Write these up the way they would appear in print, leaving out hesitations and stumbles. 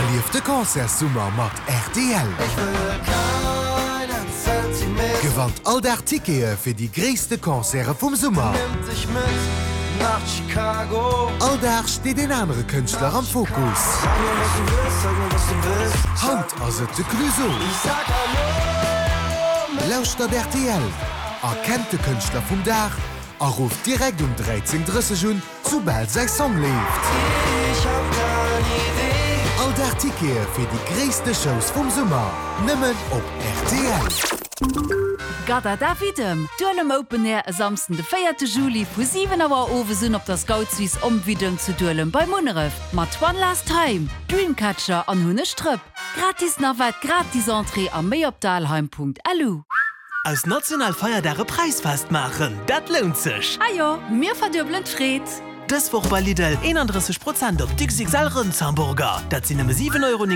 Erlieft de Concertssummer mat rtl! Gewannt all Dag Tickete fir déi gréisste Concerte vum Summer! All Dag steet een anere Kënschtler am Fokus. Haut ass et de Clueso. Lauschtert rtl, erkennt de Kënschtler vum Dag a rufft direkt um 13:30 un, Soubal säi Song leeft. All Dag Tickete fir déi gréisste Shows vum Summer, nëmmen op rtl. Gadada Widdem, Duelem Open Air e Samsden de 4 Juli vu 7 Auer owes un op der Scoutswiss Om Widdem zu Duelem bei Munneref mat One Last Time, Dreamcatcher an Hunneg Drëpp. Gratis Navette, gratis Entrée a méi op dalheim.lu. Aus national Feierdag e Präisfest maachen, dat lount sech! Ah jo, mir verduebelen d'Freed! Dës Woch bei Lidl, 31 Prozent op d'XXL Rëndshamburger, dat sinn nëmme 7,99 Euro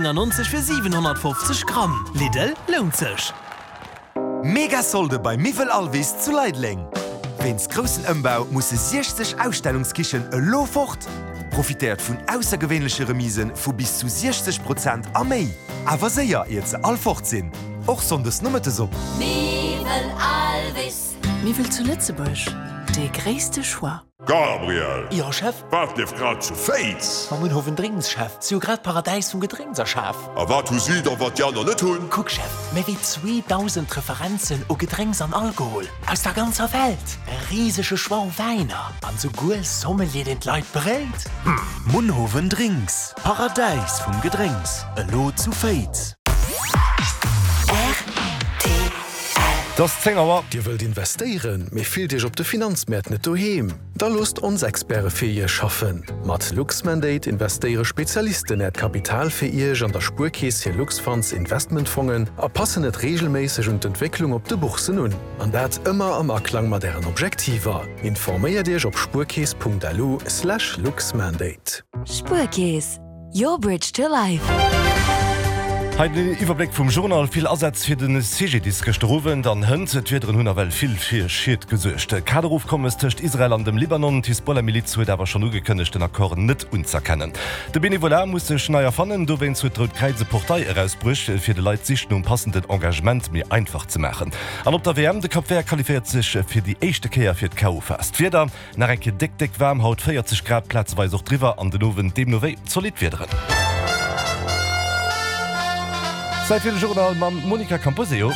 fir 750 Gramm. Lidl, lount sech! Mega Solde bei Miwwel Alvis zu Leideleng! Wéinst groussen Ëmbau musse 60 Ausstellungskichen elo fort! Profitéiert vun aussergewéinleche Remise vu bis zu 60 Prozent a méi! Awer séier, iert se all fort sinn! Och Sonndes nomëttes op. Miwwel Alvis. Miwwel zu Lëtzebuerg, dee gréisste Choix. Gabriel! Jo, Chef? Wat lieft grad zu Féiz? Mam Munhowen Drinks, Chef. Si hu grad d'Paradäis vum Gedrénks erschaf. A wat hu si da, wat déi aner net hunn? Kuck, Chef, méi wéi 2.000 Referenzen u Gedrénks an Alkohol aus der ganzer Welt, e risege Choix u Wäiner an souguer Sommelier, deen d'Leit beréit. Munhowen Drinks, Paradäis vum Gedrénks, elo zu Féiz. Et ass 10 Auer. Dir wëllt investéieren, mee fillt Iech op de Finanzmäert net doheem? Da loosst ons Experte fir Iech schaffen! Mat Luxmandate investéiere Spezialisten Äert Kapital fir Iech an der Spuerkeess hir Luxfunds Investmentfongen a passen et reegelméisseg un d'Entwécklung op de Boursen un. An dat ëmmer am Aklang mat Ären Objektiver. Informéiert Iech op spuerkeess.lu/luxmandate. Spuerkeess, your bridge to life. Hei den Iwwerbléck vum Journal. Vill Asätz fir de CGDIS gëschter Owend an hënt. D'Wiederen hunn nawell vill fir Schied gesuergt. Kaderofkommes tëscht Israel an dem Libanon. D'Hisbollah-Miliz huet awer schonn ugekënnegt, den Accord net unz'erkennen. De Benevolat muss sech nei erfannen. Dowéinst huet d'Rout Kräiz e Portail erausbruecht, fir de Leit d'Sich nom passenden Engagement méi einfach ze maachen. An op der WM, de Cap Vert qualifiéiert sech fir déi éischte Kéier fir d'KO-Phas. D'Wieder, Nach eng Kéier déck, déck waarm haut, 40 Grad, plazeweis och driwwer, an den Owend deemno wéi zolidd Wiederen. Zäit fir de Journal mam Monica Camposeo.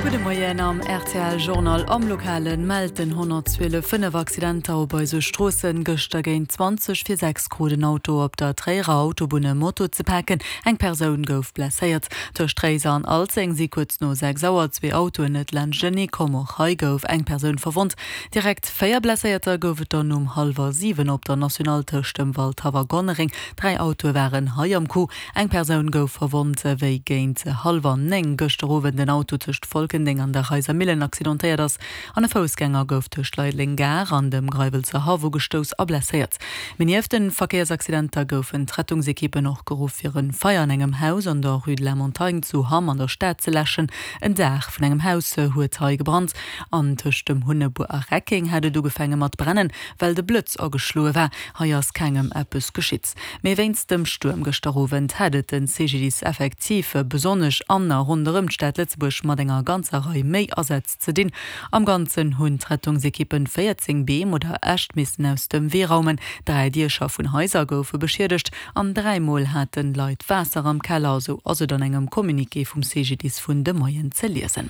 Gudde Moien am rtl Journal. Am Lokale mellt den 112 5 Accidenter op eise Stroossen. Gëschter géint 20 vir 6 krut en Auto op der Tréierer Autobunn e Moto ze paken. Eng Persoun gouf blesséiert. Tëscht Réiser an Alzeng si kuerz no 6 Auer zwee Autoen net laanschtenee komm. Och hei gouf eng Persoun verwonnt. Direkt 4 Blesséierter gouf et dann um hallwer 7 op der Nationale tëscht dem Waldhaff a Gonnereng. 3 Autoe waren hei am Coup. Eng Persoun gouf verwonnt, wéi géint hallwer 9 gëschter Owend en Auto tëscht Folkendeng an der Reiser Millen accidentéiert ass an e Foussgänger gouf tëscht Leideleng Gare an dem Greiwelser Haff ugestouss a blesséiert. Mee nieft de Verkéiersaccidenter goufen d'Rettungsekippen och geruff fir e Feier an engem Haus an der Rue de la Montagne zu Hamm an der Stad ze läschen. En Daach vun engem Haus huet hei gebrannt. An tëscht dem Hunnebuer a Reckeng hat et ugefaange mat brennen, well de Blëtz ageschloe war. Hei ass kengem eppes geschitt. Mee wéinst dem Stuerm gëschter Owend hat et de CGDIS effektiv besonnesch an a ronderëm d'Stad Lëtzebuerg mat enger ganzer Rei méi Asätz ze dinn. Am Ganzen hunn d'Rettungsekippen 14 Beem oder Äscht missen aus dem Wee raumen, 3 Diecher vun Haiser goufe beschiedegt an 3 Mol haten Leit Waasser am Keller, esou ass et an engem Communiqué vum CGDIS vun de Moien ze liesen.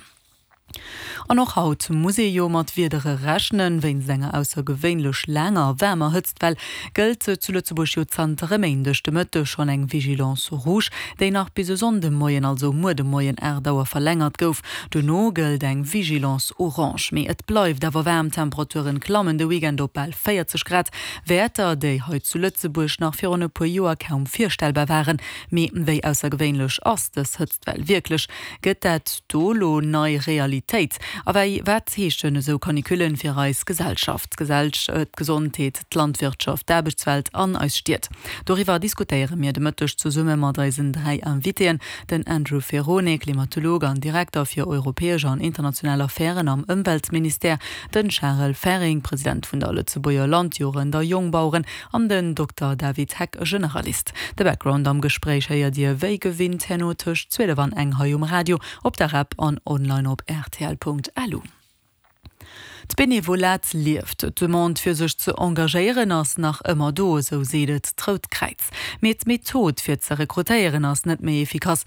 An och haut muss ee jo mat Wiedere rechnen. Wéinst enger aussergewéinlech laanger a waarmer Hëtztwell gëllt zu Lëtzebuerg jo zanter e Méindeg de Mëtteg schonn eng Vigilance rouge, déi nach bis e Sonndemoien, also muer de Moien 8 Auer, verlängert gouf. Dono gëllt eng Vigilance orange. Mee et bleift awer waarm, D'Temperaturen klammen de Weekend op bal 40 Grad, Wäerter, déi hei zu Lëtzebuerg nach virun e puer Joer kaum virstellbar waren. Mee wéi aussergewéinlech ass dës Hëtztwell wierklech? Gëtt dat do lo nei Realitéit? A wei wat heeschen esou Canicullen fir eis Gesellschaft, d'Gesondheet, d'Landwirtschaft, d'Aarbechtswelt an eis Stied? Doriwwer diskutéiere mir de Mëtteg zesumme mat eisen 3 Invitéen, den Andrew Ferrone, Klimatolog an Direkter fir europäesch an international Affären am Ëmweltministère, den Charel Ferring, President vun der Lëtzebuerger Landjugend a Jongbaueren an den Dokter David Heck, Generalist. De Background am Gespréich héiert Dir wéi gewinnt herno tëscht 12 an eng hei um Radio, op der App an online op rtl.lu. D'Benevolat lieft. D'Demande fir sech ze engagéieren ass nach ëmmer do, esou seet et d'Rout Kräiz. Mee d'Method fir ze rekrutéieren ass net méi efficace.